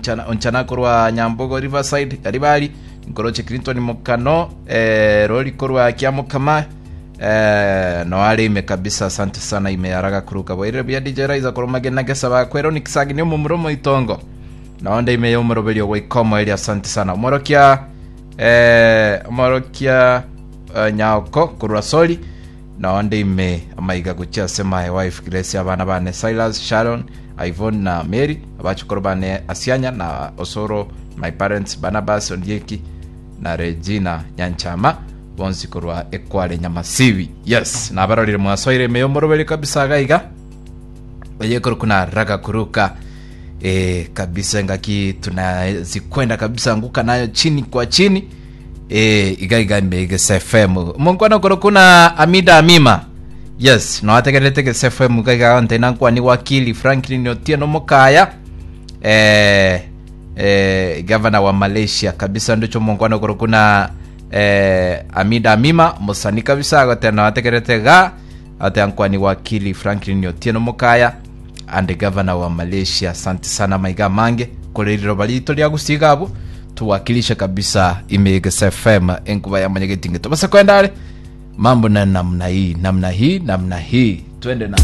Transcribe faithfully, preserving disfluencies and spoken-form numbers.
Onchana, Onchana korwa Nyambogo Riverside Karibari nkoroche Clinton Mokano eh, rori korwa Kiamokama eh, noare ime kabisa. Asante sana ime yaraga kuruka bwaire buya. D J Raiza korwa Magena Gesaba kwero nikisagi ni omomuro moitongo naonde ime yomoroberio goikomo eri. Asante sana omorokia eh, omorokia eh, Nyaoko korwa Sori naonde ime amaiga gochia ase my wife Grace, abana bane Silas, Sharon, Ivon na Mary, abachukuru bane Asianya na Osoro, my parents Barnabas Ondieki na Regina Nyanchama bonsi korwa Ekware Nyamasibi. Yes, nabarorire mwasoire ime yomoroberi kabisa gaiga eyekoro kuna raga kuruka e, kabisa ngaki tunazikwenda kabisa anguka nayo chini kwa chini e, iga iga ime Gese F M omonkwana koro kuna Amida Amima. Yes, noategererete Gese F M iga iga nte nankwani wakili Franklin Otieno Mokaya eh, eh, gavana wa Malaysia kabisa ndicho omonkwana koro kuna eh, Amida Amima musani kabisa agote noategererete ga ate ankwani wakili Franklin Otieno Mokaya and governor wa Malaysia. Asante sana maiga mange koreriro barito ria gusiga abo tuwakilishe kabisa ime Gese F M enkuba ya manyegetinge tobase kwendare mambo na namna hii namna hii namna hii twende nalo.